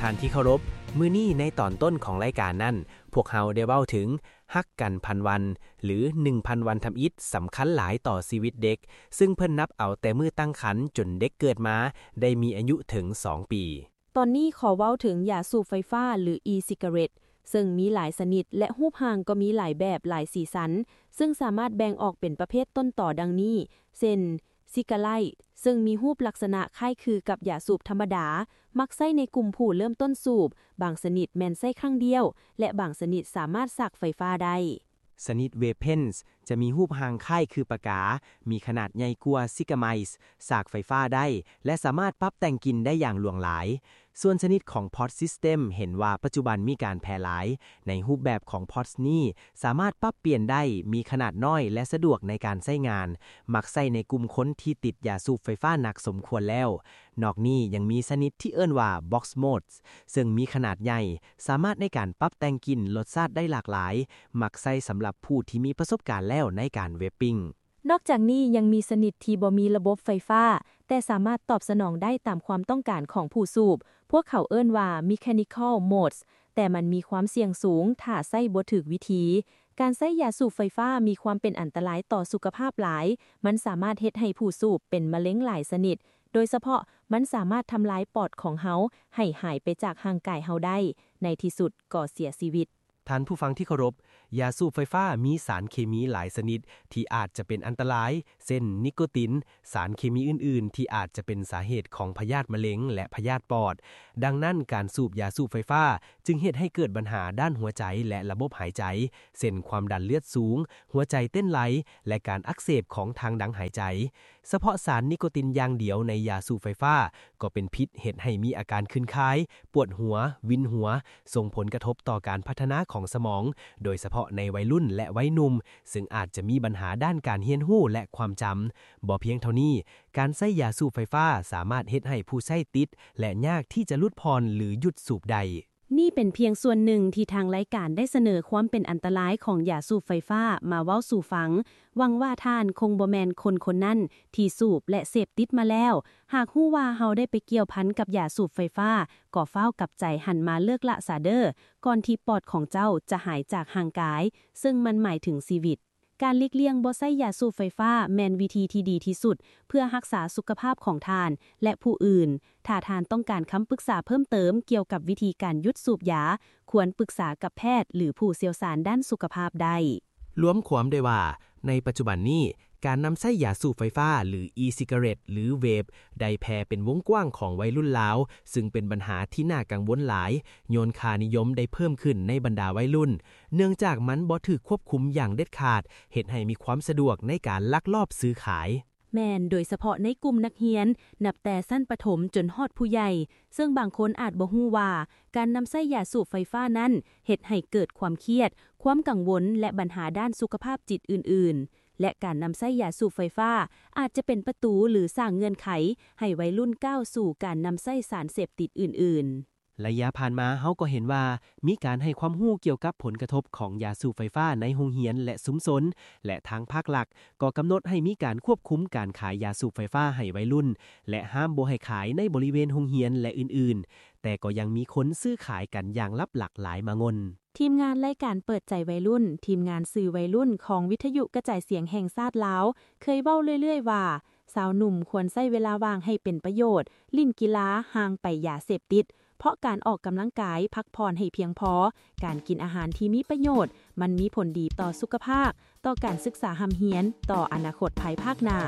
ທ່ານທີ່ເຄົາລົບ, ມື້ນີ້ໃນຕອນຕົ້ນຂອງລາຍການນັ້ນ, ພວກເຮົາໄດ້ເວົ້າເຖິງຮັກກັນພັນວັນ ຫຼື ໜຶ່ງພັນວັນທຳອິດ ສຳຄັນຫຼາຍຕໍ່ຊີວິດເດັກ, ຊຶ່ງເພິ່ນນັບເອົາແຕ່ມື້ຕັ້ງຄຳຈົນເດັກເກີດມາໄດ້ມີອາຍຸເຖິງສອງປີ. ຕອນນີ້ຂໍເວົ້າເຖິງຢາສູບໄຟຟ້າ ຫຼື e-cigarette ເຊິ່ງມີຫຼາຍຊະນິດ ແລະ ຮູບຮ່າງກໍມີຫຼາຍແບບ, ຫຼາຍສີສັນ, ເຊິ່ງສາມາດແບ່ງອອກເປັນປະເພດຕົ້ນຕໍດັ່ງນີ້, ເຊັ່ນ ຊິກາໄລ ເຊິ່ງມີຮູບລັກສະນະຄ້າຍຄືກັບຢາສູບທຳມະດາ, ມັກໃຊ້ໃນກຸ່ມຜູ້ເລີ່ມຕົ້ນສູບ, ບາງຊະນິດແມ່ນໃຊ້ຄັ້ງດຽວ ແລະ ບາງຊະນິດສາມາດສາກໄຟຟ້າໄດ້. ຊະນິດ vape pens ຈະມີຮູບຮ່າງຄ້າຍຄືປາກາ, ມີຂະໜາດໃຫຍ່ກວ່າ cigar mice, ສາກໄຟຟ້າໄດ້ ແລະ ສາມາດປັບແຕ່ງກິ່ນໄດ້ຢ່າງຫຼວງຫຼາຍ. ສ່ວນຊະນິດຂອງ pod system ເຫັນວ່າປັດຈຸບັນມີການແຜ່ຫຼາຍ. ໃນຮູບແບບຂອງ pods ນີ້ສາມາດປັບປ່ຽນໄດ້, ມີຂະໜາດນ້ອຍ ແລະ ສະດວກໃນການໃຊ້ງານ, ມັກໃຊ້ໃນກຸ່ມຄົນທີ່ຕິດຢາສູບໄຟຟ້າໜັກສົມຄວນແລ້ວ. ນອກນີ້ຍັງມີຊະນິດທີ່ເອີ້ນວ່າ box mods ເຊິ່ງມີຂະໜາດໃຫຍ່, ສາມາດໃນການປັບແຕ່ງກິ່ນ, ລົດຊາດໄດ້ຫຼາກຫຼາຍ, ມັກໃຊ້ສຳລັບຜູ້ທີ່ມີປະສົບການແລ້ວໃນການ vaping. ນອກຈາກນີ້ຍັງມີຊະນິດທີ່ບໍ່ມີລະບົບໄຟຟ້າ, ແຕ່ສາມາດຕອບສະໜອງໄດ້ຕາມຄວາມຕ້ອງການຂອງຜູ້ສູບ. ພວກເຂົາເອີ້ນວ່າ mechanical mods, ແຕ່ມັນມີຄວາມສ່ຽງສູງຖ້າໃຊ້ບໍ່ຖືກວິທີ. ການໃຊ້ຢາສູບໄຟຟ້າມີຄວາມເປັນອັນຕະລາຍຕໍ່ສຸຂະພາບຫຼາຍ. ມັນສາມາດເຮັດໃຫ້ຜູ້ສູບເປັນມະເລັງຫຼາຍຊະນິດ. ໂດຍສະເພາະ, ມັນສາມາດທຳລາຍປອດຂອງເຮົາໃຫ້ຫາຍໄປຈາກຮ່າງກາຍເຮົາໄດ້, ໃນທີ່ສຸດກໍເສຍຊີວິດ. ທ່ານຜູ້ຟັງທີ່ເຄົາລົບ, ຢາສູບໄຟຟ້າມີສານເຄມີຫຼາຍຊະນິດທີ່ອາດຈະເປັນອັນຕະລາຍ, ເຊັ່ນ ນິໂກຕິນ, ສານເຄມີອື່ນໆທີ່ອາດຈະເປັນສາເຫດຂອງພະຍາດມະເລັງ ແລະ ພະຍາດປອດ. ດັ່ງນັ້ນ, ການສູບຢາສູບໄຟຟ້າຈຶ່ງເຮັດໃຫ້ເກີດບັນຫາດ້ານຫົວໃຈ ແລະ ລະບົບຫາຍໃຈ, ເຊັ່ນ ຄວາມດັນເລືອດສູງ, ຫົວໃຈເຕັ້ນໄວ ແລະ ການອັກເສບຂອງທາງດັງຫາຍໃຈ. ສະເພາະສານນິໂກຕິນຢ່າງດຽວໃນຢາສູບໄຟຟ້າກໍເປັນພິດ, ເຮັດໃຫ້ມີອາການຄື້ນຄາຍ, ປວດຫົວ, ວິນຫົວ, ສົ່ງຜົນກະທົບຕໍ່ການພັດທະນາຂອງສະໝອງ, ໂດຍສະເພາະໃນໄວລຸ້ນ ແລະ ໄວໜຸ່ມ, ເຊິ່ງອາດຈະມີບັນຫາດ້ານການຮຽນຮູ້ ແລະ ຄວາມຈຳ. ບໍ່ພຽງເທົ່ານີ້, ການໃຊ້ຢາສູບໄຟຟ້າສາມາດເຮັດໃຫ້ຜູ້ໃຊ້ຕິດ ແລະ ຍາກທີ່ຈະຫຼຸດຜ່ອນ ຫຼື ຢຸດສູບໄດ້. ນີ້ເປັນພຽງສ່ວນໜຶ່ງທີ່ທາງລາຍການໄດ້ສະເໜີຄວາມເປັນອັນຕະລາຍຂອງຢາສູບໄຟຟ້າມາເວົ້າສູ່ຟັງ. ຫວັງວ່າທ່ານຄົງບໍ່ແມ່ນຄົນຄົນນັ້ນທີ່ສູບ ແລະ ເສບຕິດມາແລ້ວ. ຫາກຮູ້ວ່າເຮົາໄດ້ໄປກ່ຽວພັນກັບຢາສູບໄຟຟ້າ, ກໍຟ້າວກັບໃຈຫັນມາເລີກລະຊະເດີ້, ກ່ອນທີ່ປອດຂອງເຈົ້າຈະຫາຍຈາກຮ່າງກາຍ, ເຊິ່ງມັນໝາຍເຖິງຊີວິດ. ການຫຼີກລ່ຽງບໍ່ໃຊ້ຢາສູບໄຟຟ້າແມ່ນວິທີທີ່ດີທີ່ສຸດເພື່ອຮັກສາສຸຂະພາບຂອງທ່ານ ແລະ ຜູ້ອື່ນ. ຖ້າທ່ານຕ້ອງການຄຳປຶກສາເພີ່ມເຕີມກ່ຽວກັບວິທີການຢຸດສູບຢາ, ຄວນປຶກສາກັບແພດ ຫຼື ຜູ້ຊ່ຽວຊານດ້ານສຸຂະພາບໄດ້. ລວມຄວາມໄດ້ວ່າ, ໃນປັດຈຸບັນນີ້, ການນຳໃຊ້ຢາສູບໄຟຟ້າ ຫຼື e-cigarette ຫຼື vape ໄດ້ແຜ່ເປັນວົງກວ້າງຂອງໄວລຸ້ນລາວ, ຊຶ່ງເປັນບັນຫາທີ່ໜ້າກັງວົນຫຼາຍ, ຍ້ອນຄ່ານິຍົມໄດ້ເພີ່ມຂຶ້ນໃນບັນດາໄວລຸ້ນ, ເນື່ອງຈາກມັນບໍ່ຖືກຄວບຄຸມຢ່າງເດັດຂາດ, ເຮັດໃຫ້ມີຄວາມສະດວກໃນການລັກລອບຊື້ຂາຍ. ແມ່ນ, ໂດຍສະເພາະໃນກຸ່ມນັກຮຽນ, ນັບແຕ່ຊັ້ນປະຖົມຈົນຮອດຜູ້ໃຫຍ່, ເຊິ່ງບາງຄົນອາດບໍ່ຮູ້ວ່າ ການນຳໃຊ້ຢາສູບໄຟຟ້ານັ້ນ ເຮັດໃຫ້ເກີດຄວາມຄຽດ, ຄວາມກັງວົນ ແລະ ບັນຫາດ້ານສຸຂະພາບຈິດອື່ນໆ. ແລະ ການນຳໃຊ້ຢາສູບໄຟຟ້າ ອາດຈະເປັນປະຕູ ຫຼື ສ້າງເງື່ອນໄຂໃຫ້ໄວລຸ້ນກ້າວສູ່ການນຳໃຊ້ສານເສບຕິດອື່ນໆ. ໄລຍະຜ່ານມາເຮົາກໍເຫັນວ່າ ມີການໃຫ້ຄວາມຮູ້ກ່ຽວກັບຜົນກະທົບຂອງຢາສູບໄຟຟ້າໃນໂຮງຮຽນ ແລະ ຊຸມຊົນ, ແລະ ທາງພາກລັດກໍກຳນົດໃຫ້ມີການຄວບຄຸມການຂາຍຢາສູບໄຟຟ້າໃຫ້ໄວລຸ້ນ ແລະ ຫ້າມບໍ່ໃຫ້ຂາຍໃນບໍລິເວນໂຮງຮຽນ ແລະ ອື່ນໆ, ແຕ່ກໍຍັງມີຄົນຊື້ຂາຍກັນຢ່າງລັບຫຼັກຫຼາຍມາງ່ນ. ທີມງານລາຍການເປີດໃຈໄວລຸ້ນ, ທີມງານສື່ໄວລຸ້ນຂອງວິທະຍຸກະຈາຍສຽງແຫ່ງຊາດລາວ ເຄີຍເວົ້າເລື້ອຍໆວ່າ ຊາວໜຸ່ມຄວນໃຊ້ເວລາວ່າງໃຫ້ເປັນປະໂຫຍດ, ຫຼິ້ນກິລາຫ່າງໄປຢາເສບຕິດ, ເພາະການອອກກຳລັງກາຍ, ພັກຜ່ອນໃຫ້ພຽງພໍ, ການກິນອາຫານທີ່ມີປະໂຫຍດ, ມັນມີຜົນດີຕໍ່ສຸຂະພາບ, ຕໍ່ການສຶກສາຮ່ຳຮຽນ, ຕໍ່ອະນາຄົດພາຍພາກໜ້າ.